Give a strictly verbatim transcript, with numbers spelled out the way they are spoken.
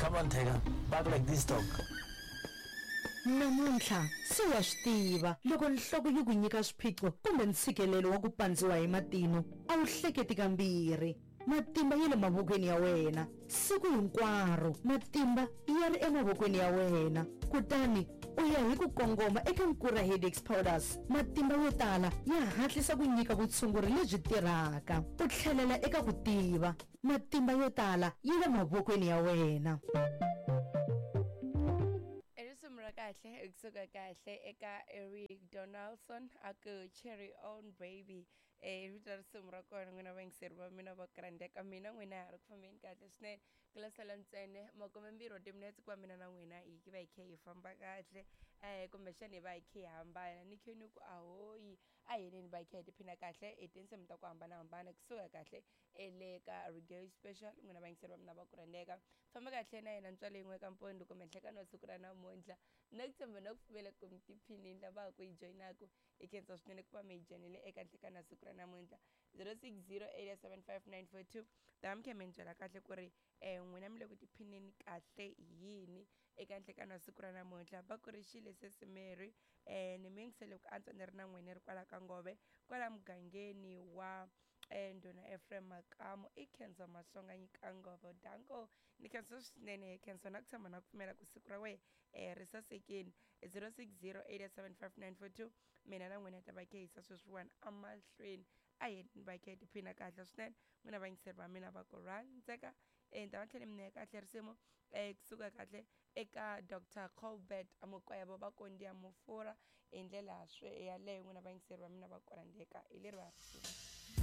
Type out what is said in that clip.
Come on, Tiger. Bark like this dog. Namuntlha se wa swi tiva loko nhloko yi ku nyika swiphiqo kumbe ntshikelelo wa ku pandziwa hi matino, a wu hleketi kambirhi. Matimba ya le mavokweni ya wena siku hinkwaro, matimba ya ri emavokweni ya wena. Kutani u ya hi ku kongoma eka Nkura Headaches Powders. Matimba yo tala ya hatlisa ku nyika vutshunguri lebyi tirhaka. U tlhelela eka ku tiva. Matimba yo tala ya le mavokweni ya wena. I risimu ra kahle kusuka kahle eka Eric Donaldson a ku Cherry On Baby. Eh vito ra risimu ra kona, n'wina vayingiseri va mina va krandeka, mina n'wina ha ri ku fambeni kahle swinene. Ku la sala ntsena makumembirhi wa timinetse ku va mina na n'wina hi va hi khe hi famba kahle, um kumbexana hi va hi khe hi hambana. Ni khe ni ku ahoyi, a hi yeneni va hi khe hi tiphina kahle hi tinsimu ta ku hambanahambana kusuka kahle ele ka Reggae Special. N'wina vayingiseri va mina va ku rhandzeka, famba kahle na yena ntswalo yin'we ka mpondo kumbe nhlekani wa siku ra namuntlha. Na ku tshemba na ku pfumela ku mi tiphinini lava ku yi joyinaku, hi khensa swinene ku va mi hi joyinile eka nhlekani wa siku ra namuntlha. zero six zero eight seven five nine four two, ta mi khe mi ni byela kahle ku ri um n'wina mi le ku tiphineni kahle hi yini eka nhlekani wa siku ra namuntlha. Va ku ri xile sesi Mary, um ni mi yingisele ku antswa ni ri na n'wina ri kwala ka Ngove, kwala mugangeni wa um ndhuna Ephraim Makamu. I Khensa Mahlonga Nyikangove, danko. Ni khensa swinene, khensa na ku tshemba na ku pfumela ku siku ra wehe um ri sasekini. zero six zero eight seven five nine four two, mina na n'wina ta va khe hisa sweswiwani amahlweni. A hi ni va khe hi tiphina kahle swinene, n'wina vayingiseri va mina va ku rhandzeka. um ni ta va tlhela mi nyika kahle risimu um kusuka kahle eka Doctor Colbert Mukwevho, va Kondiya Mufura. Hi ndlela yaleyo, n'wina vayingiseri va mina va ku rhandzeka, hi leri va risimu.